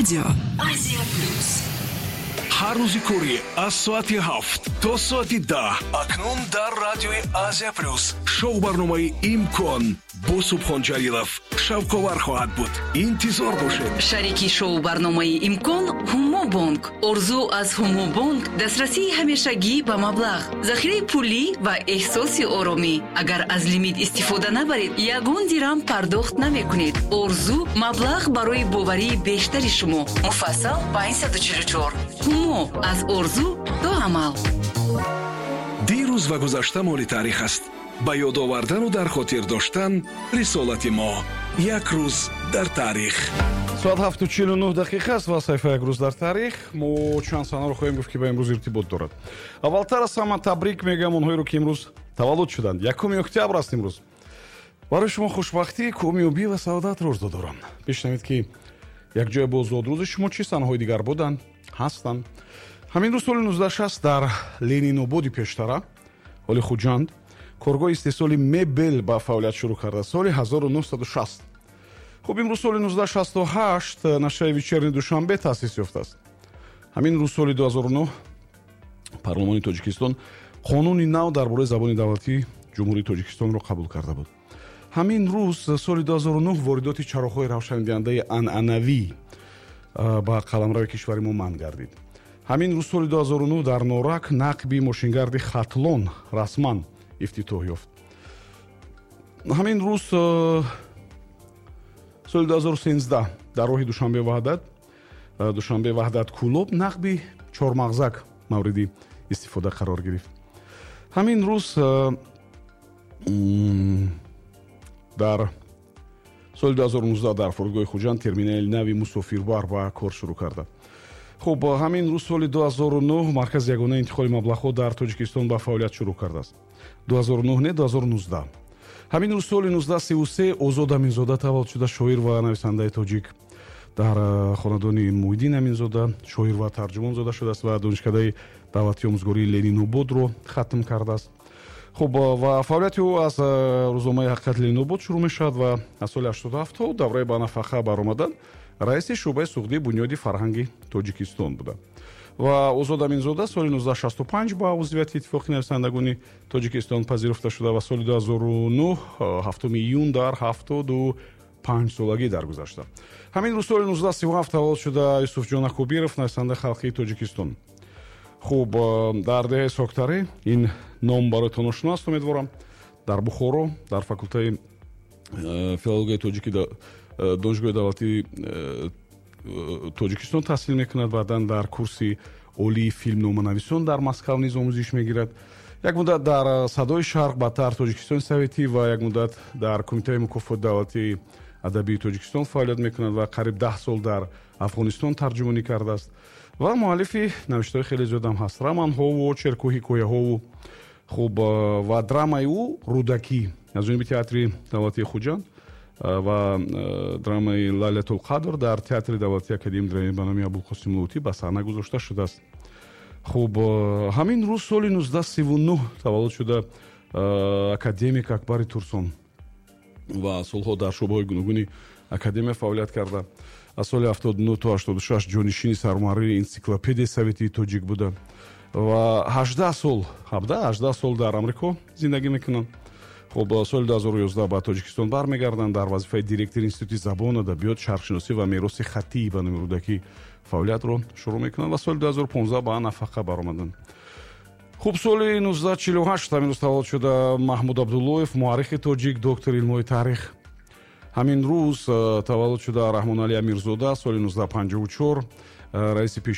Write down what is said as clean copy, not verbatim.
Радио Азия Плюс. Ҳар рӯзи корӣ аз соати 7 то соати 10 акнун дар радиои Азия Плюс шоу-барномаи «Имкон» бо Субҳон Ҷалилов шавқовар хоҳад буд. Интизор бошед. Шарики шоу-барномаи «Имкон» Ҳумобонк. Орзу аз Ҳумобонк дастрасии ҳамешагӣ ба маблағ, захираи пулӣ ва эҳсоси оромӣ. Агар аз лимит истифода набаред, ягон дирам пардохт намекунед. Орзу маблағ барои боварии бештари шумо. Муфассал 544. Ҳумо аз орзу то амал. Дирӯз ва гузашта моли таърих аст. Ба ёд овардану дар хотир доштан рисолати мо. Як рӯз дар таърих. Соат 7:49 аст ва саҳифа «Як рӯз дар таърих». Мо чанд санаро хоҳем гуфт, ки ба имрӯз иртибот дорад. Аввалтар аз ҳама табрик мегӯям онҳоеро, ки имрӯз таваллуд шуданд. 1 октябр аст имрӯз. Барои шумо хушбахтӣ, комёбӣ ва саодатро орзу дорам. Бишнавед, ки якҷоя бо зодрӯзи шумо чӣ санаҳои дигар буданд, ҳастанд. Ҳамин рӯз соли 1960 дар Ленинободи пештара, ҳоли Хуҷанд, коргоҳи истеҳсоли мебел ба фаъолият шурӯъ карда, соли 1960. Хуб, имрӯз соли 1968 нашрияи «Вечерний Душанбе» таъсис ёфтааст. Ҳамин рӯз соли 2009 Парлумони Тоҷикистон қонуни нав дар бораи забони давлатии Ҷумҳурии Тоҷикистонро қабул карда буд. Ҳамин рӯз соли 2009 воридоти чароғҳои равшандиҳандаи анъанавӣ ба қаламрави кишвари мо манъ гардид. Ҳамин рӯз соли 2009 дар Норак нақби мошингарди Хатлон расман ифтитоҳ ёфт. Ҳамин рӯз соли 2013 дар роҳи Душанбе Ваҳдат, Душанбе Ваҳдат Кӯлоб нақби чормағзак мавриди истифода қарор гирифт. Ҳамин рӯз дар соли 2019 дар фурудгоҳи Хуҷанд терминали нави мусофирбар ба кор шурӯъ карда. Хуб, ҳамин рӯз соли 2009 маркази ягонаи интиқоли маблағҳо дар Тоҷикистон ба фаъолият шурӯъ кардааст. 2009 не, 2019. Ҳамин рӯз соли 1933 Озод Аминзода таваллуд шуда, шоир ва нависандаи тоҷик. Дар хонадони Муҳиддин Аминзода, шоир ва тарҷумон, зода шудааст ва Донишкадаи давлатии омӯзгории Ленинободро хатм кардааст. Хуб, ва фаъолияти ӯ аз рӯзномаи «Ҳақиқати Ленинобод» шурӯъ мешавад ва аз соли 87 то давраи ба нафақа баромадан раиси шӯъбаи суғдии Бунёди фарҳанги Тоҷикистон буда. Ва Озод Аминзода соли 1965 ба узвияти Иттифоқи нависандагони Тоҷикистон пазируфта шуда ва соли 2009 7 июн дар 75 солагӣ даргузашта. Ҳамин рӯз соли 1937 таваллуд шуда Юсуфҷон Акобиров, нависандаи халқии Тоҷикистон. Хуб, дар деҳаи Соктарӣ, ин ном бароятон ошно аст, умедворам, дар Бухоро дар факултаи филологияи тоҷики Донишгоҳи давлатии Тоҷикистон таҳсил мекунад. Баъдан дар курси олии филмноманависон дар Москав низ омӯзиш мегирад. Як муддат дар «Садои Шарқ», баъдтар «Тоҷикистони советӣ» ва як муддат дар Кумитаи мукофоти давлатии адабии Тоҷикистон фаъолият мекунад ва қариб 10 сол дар Афғонистон тарҷумонӣ кардааст ва муаллифи навиштаҳои хеле зиёдам ҳаст, романҳову очерку ҳикояҳову. Хуб, ва драмаи ӯ «Рӯдакӣ» аз ҷониби Театри давлатии Хуҷанд ва драмаи «Лайлатулқадр» дар Театри давлатии академии драмӣ ба номи Абулқосим Лоҳутӣ ба саҳна гузошта шудааст. Хуб, ҳамин рӯз соли 1939 таваллуд шуда академик Акбари Турсон ва солҳо дар шӯъбаҳои гуногуни академия фаъолият карда, аз соли 79 то 86 ҷонишини сармуҳаррири «Энсиклопедияи советии тоҷик» буда ва 18 сол, 17, 18 сол дар Амрико зиндагӣ мекунанд. Хуб, соли 2011 ба Тоҷикистон бармегарданд, дар вазифаи директори Институти забон, адабиёт, шарқшиносӣ ва мероси хаттии ба номи Рӯдакӣ фаъолиятро шурӯъ мекунанд ва соли 2015 ба нафақа баромаданд. Хуб, соли 1948 ҳамин рӯз таваллуд шуда Маҳмуд Абдуллоев, муаррихи тоҷик, доктори илмҳои таърих. Ҳамин рӯз таваллуд шуда Раҳмоналӣ Амирзода, соли 1954 раиси пеш